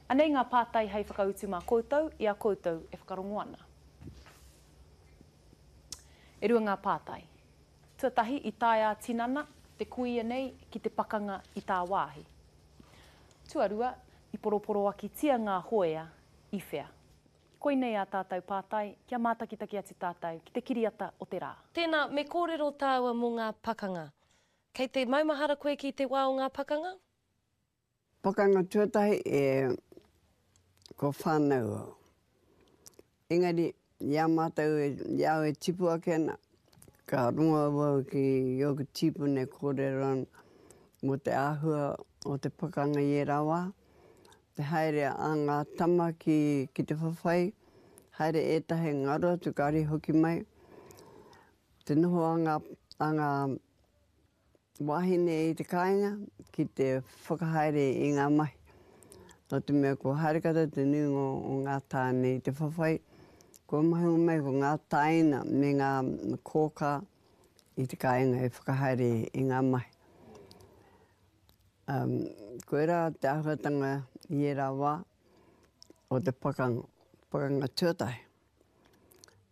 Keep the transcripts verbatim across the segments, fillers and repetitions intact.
Anei ngā pātai hei whakautu mā koutou i a koutou e whakarongo ana. E rua ngā pātai. Tuatahi, i tae ā-tinana te kuia nei ki te pakanga i tāwāhi. Tuarua, i poroporoakitia ngā hoea i whea? Koinei ā tātou pātai kia mātakitaki atu tātou ki te kiriata o te rā. Tēnā, me kōrero tāua mō ngā pakanga. Kei te maumahara koe ki te wā o ngā pakanga? Pakanga tuatahi, e, kua whānau au. Engari, i a mātou, i a au e tipu ake ana, ka rongo au ki ōku tīpuna e kōrero ana mō te āhua o te pakanga i ērā wā, te haere a ngā tama ki, ki te whawhai, haere ētahi ngaro atu kāre i hoki mai, te noho a ngā, a ngā wāhine i te kāinga ki te whakahaere i ngā mahi. Nō te mea kua haere katoa te nuinga o ngā tāne i te whawhai, kua mahue mai ko ngā tāina me ngā kōkā i te kāinga e whakahaere i ngā mahi. Um, koirā te āhuatanga i ērā wā o te pakanga, pakanga tuatahi.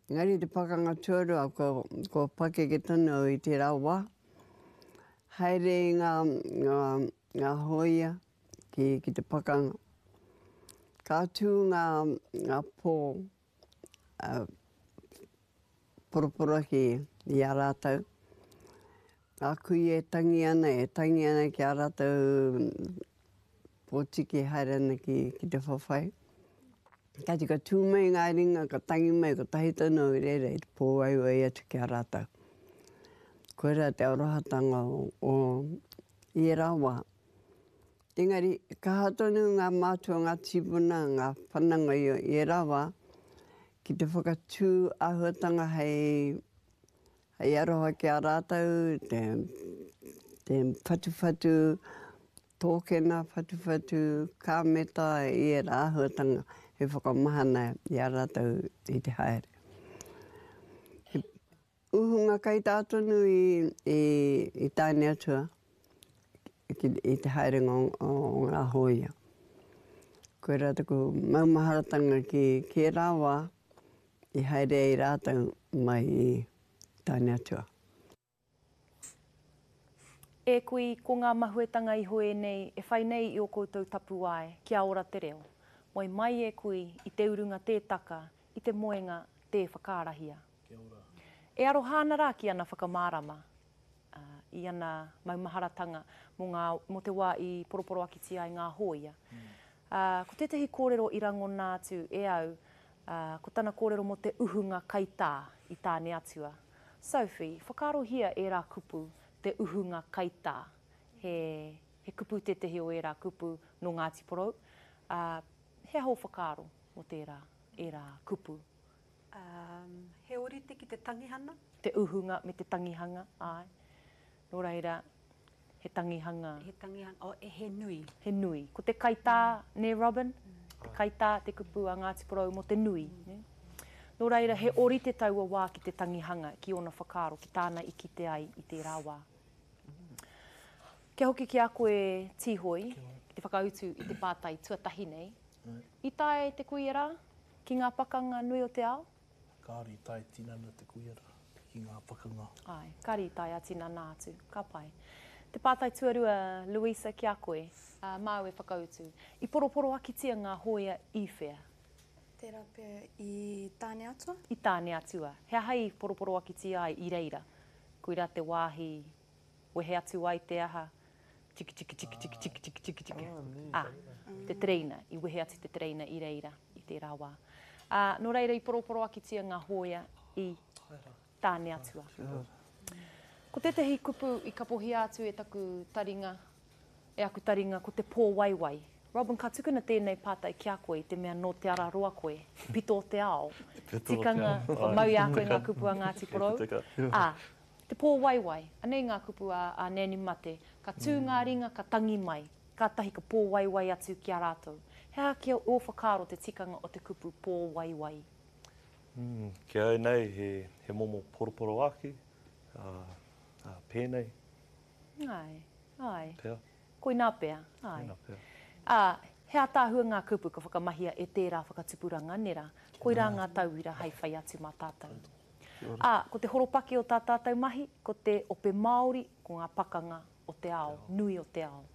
Engari te pakanga tuarua, kua, kua pakeke tonu au i tērā wā, haere i ngā, ngā, ngā hōia ki, ki te pakanga. Ka tū ngā, ngā pō uh, poroporoaki i a rātou. Ngā kuia e tangi ana, e tangi ana ki a rātou pōtiki e haere ana ki, ki te whawhai. Kāti ka tū mai ngā ringa, ka tangi mai, kotahi tonu au i reira i te pōwaiwai atu ki a rātou. Koirā te arohatanga o, o i ērā wā. Engari, kaha tonu ngā mātua, ngā tīpuna, ngā whananga i, i ērā wā ki te whakatū āhuatanga hei Hei aroha ki a rātou te, te whatuwhatu tōkena, whatuwhatu kāmeta i ērā āhuatanga he whakamahana i a rātou i te haere. He uhunga kaitā tonu i, i, i Tāneatua ki, i te haerenga o, o, o ngā hōia. Koirā taku maumaharatanga ki, ki ērā wā i haere ai rātou mai i Tāneatua. E kui, ko ngā mahuetanga iho ēnei e whai nei i ō koutou tapuwae, kia ora te reo. Moe mai e kui, i te urunga tē taka, i te moenga tē whakaarahia. Kia ora. E aroha ana rā ki ana whakamārama, ā, i ana maumaharatanga mō ngā, mō te wā i poroporoakitia ai ngā hōia. Ā, ko tētahi kōrero i rangona atu e au, ā, ko tana kōrero mō te uhunga kaitā i Tāneatua. Sophie, whakaarohia ērā kupu, te uhunga kaitā. He, he kupu tētahi o ērā kupu nō Ngāti Porou. Ā, he aha ō whakaaro mō tērā, ērā kupu? Ā, he ōrite ki te tangihana? Te uhunga me te tangihanga, āe. Nō reira, he tangihanga. He tangihanga, oh, he nui. He nui. Ko te kaitā, nē Robin? Te kaitā, te kupu a Ngāti Porou mō te nui, nē? Nō reira, he ōrite taua wā ki te tangihanga, ki ōna whakaaro, ki tāna i kite ai i tērā wā. Kia hoki ki a koe, Tīhoi, ki te whakautu i te pātai tuatahi nei. I tae te kuia rā ki ngā pakanga nui o te ao? Kāore i tae tinana te kuia rā ki ngā pakanga. Āe, kāre i tae ā-tinana atu. Ka pai. Te pātai tuarua, Louisa, ki a koe, māu e whakautu. I poroporoakitia ngā hōia i whea? Tērā pea i Tāneatua. I Tāneatua. He aha i poroporoakitia ai i reira? Koirā te wāhi wehe atu ai te aha? Tiki tiki tiki tiki tiki tiki tiki tiki. Ah, te tereina. I wehe atu te tereina i reira i tērā wā. Ā, nō reira i poroporoakitia ngā hōia i Tāneatua. Ko tētahi kupu i kapohia atu e taku taringa, e aku taringa, ko te pōwaiwai. Robin, ka tukuna tēnei pātai ki a koe i te mea nō Te Araroa koe, te pito o te ao. Tikanga, kua mau i a koe ngā kupu a Ngāti Porou. Ā, te pōwaiwai, anei ngā kupu a, a Nanny Mate, ka tū ngā ringa, ka tangi mai, kātahi ka pōwaiwai atu ki a rātou. He aha ki ō whakaaro te tikanga o te kupu pōwaiwai? Mm, ki au nei, he, he momo poroporoaki, ā, ā, pēnei. Āe, āe. Pea. Koinā pea, āe. Koinā pea. Ā, He ātaahua ngā kupu ka whakamahia e tērā whakatupuranga nera, koirā ngā tauira hei whai atu mā tātou. Ā, ko te horopaki o tā tātou mahi, ko te ope Māori, ko ngā pakanga o te ao, nui o te ao.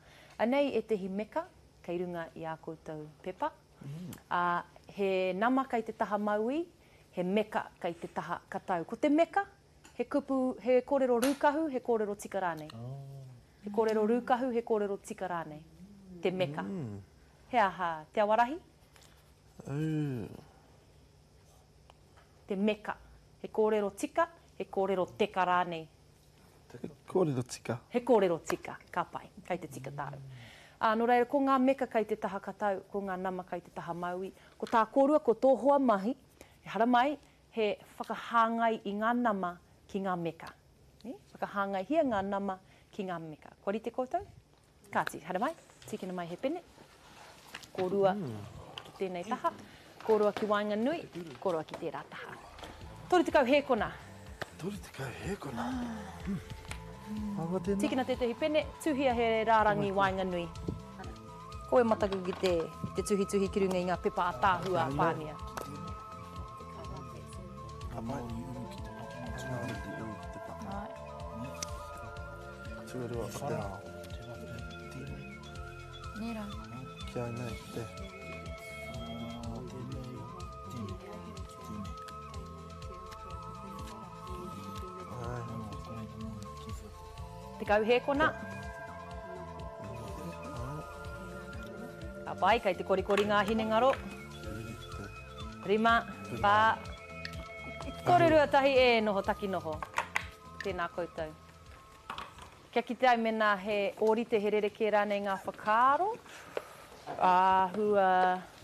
Anei ētehi meka kei runga i ā koutou pepa. Ā, he nama kei te taha mauī, he meka kei te taha katau. Ko te meka, he kupu, he kōrero rūkahu, he kōrero tika rānei. He kōrero rūkahu, he kōrero tika rānei. Te meka. He aha Te Awarahi? Te meka. He kōrero tika, he kōrero teka rānei. He kōrero tika. He kōrero tika. Ka pai. Kei te tika tāu. Ā, nō reira, ko ngā meka kei te taha katau, ko ngā nama kei te taha mauī. Ko tā kōrua, ko tō hoa mahi, e haramai, he whakahāngai i ngā nama ki ngā meka. Nē? Whakahāngaihia ngā nama ki ngā meka. Kua rite koutou? Kāti, haramai, tīkina mai he pene. Kōrua ki tēnei taha, kōrua ki waenganui, kōrua ki tērā taha. Toru tekau hēkona. Toru tekau hēkona. Aua tēnā. Tīkina tētehi pene, tuhia he rārangi waenganui. Ko e mataku ki te, ki te tuhituhi ki runga i ngā pepa ātaahua a Pānia. Ka pai. Tuarua o te ao. Nē rā. Ki au nei, te. Tekau hēkona. Ka pai, kei te korikori ngā hinengaro. Rima, whā, toru, rua, tahi, e noho taki noho. Tēnā koutou. Kia kite ai mēnā he ōrite, he rerekē rānei ngā whakaaro. Āhua,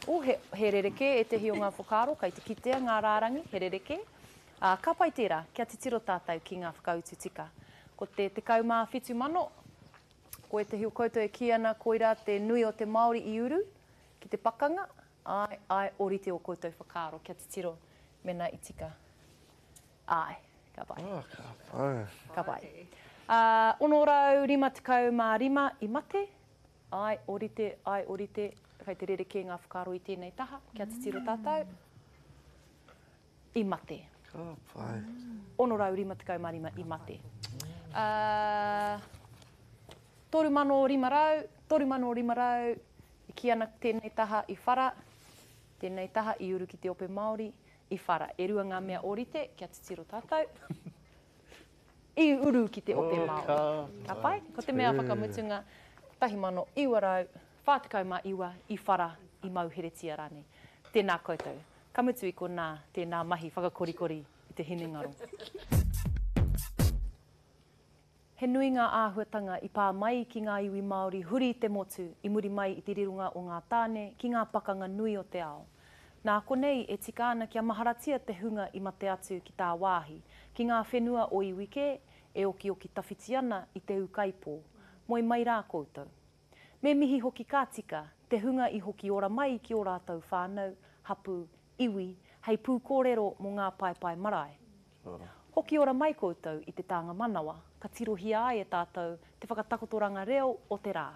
oh, he, he rerekē ētehi o ngā whakaaro, kei te kitea ngā rārangi, he rerekē. Ā, ka pai tērā, kia titiro tātou ki ngā whakautu tika. Ko te tekau mā whitu mano, ko ētehi o koutou e kī ana koirā te nui o te Māori i uru ki te pakanga, āe, āe, ōrite o koutou whakaaro, kia titiro mēnā i tika. Āe, ka pai. Oh, ka pai. Ka pai. Ā, ono rau rima tekau mā rima i mate, āe, ōrite, āe, ōrite, kei te rerekē ngā whakaaro i tēnei taha, kia titiro tātou, i mate. Ka pai. Ono rau rima tekau mā rima i mate. Ā, toru mano rima rau, toru mano rima rau, i kī ana tēnei taha i whara, tēnei taha i uru ki te ope Māori, i whara. E rua ngā mea ōrite, kia titiro tātou. I uru ki te ope Oh, Māori. ka Ka pai? Ko te mea whakamutunga, kotahi mano iwa rau, whā tekau mā iwa, i whara, i mauheretia rānei. Tēnā koutou. Ka mutu i konā, tēnā mahi whakakorikori i te hinengaro. He nui ngā āhuatanga i pā mai ki ngā iwi Māori huri i te motu i muri mai i te rironga o ngā tāne ki ngā pakanga nui o te ao. Nā konei e tika ana kia maharatia te hunga i mate atu ki tāwāhi, ki ngā whenua o iwi kē e okioki tawhiti ana i te ūkaipō. Moe mai rā koutou. Me mihi hoki ka tika, te hunga i hoki ora mai ki ō rātou whānau, hapū, iwi, hei pūkōrero mō ngā paepae marae. Hoki ora mai koutou i te tānga manawa, ka tirohia ai e tātou te whakatakotoranga reo o te rā.